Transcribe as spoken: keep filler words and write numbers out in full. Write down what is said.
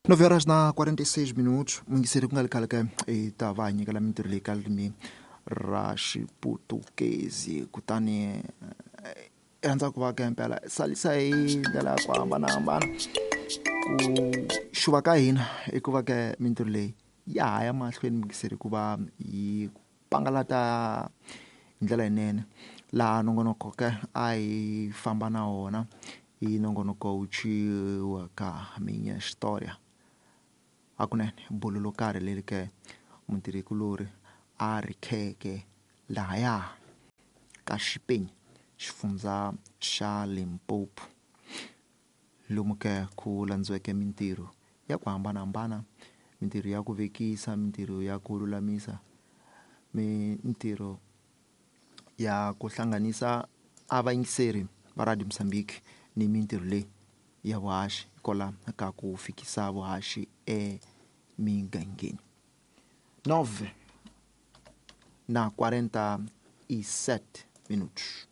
Nove horas na quarenta e seis minutos. Muyingiseri, ku nga ri khale ka hi ta va hi nyikela mintirho leyi ka ririmi ra Xiputukezi. Kutani i rhandza ku va ka impela salisa hi ndlela ya ku hambanahambana. Ku xuva ka hina i ku va ka mintirho leyi ya ha ya mahlweni, muyingiseri, ku va yi pangalata hi ndlela yinene. Laha nongonoko ke a hi famba na wona i nongonoko wu ciwa ka Minha História. Hakunene bulo lo karhi leri ke mutirhikulori a ri kheke lahaya ka Xipenya, xifundza xa Limpopo, lomu ke ku landziweke mintirho ya ku hambanahambana, mintirho ya ku vekisa, mintirho ya ku lulamisa, mintirho ya ku hlanganisa a vayingiseri va Radio Mozambique ni mintirho leyi ya vuhaxi kwala ka ku fikisa vuhaxi emigangeni. Nove na quarenta e sete minutos.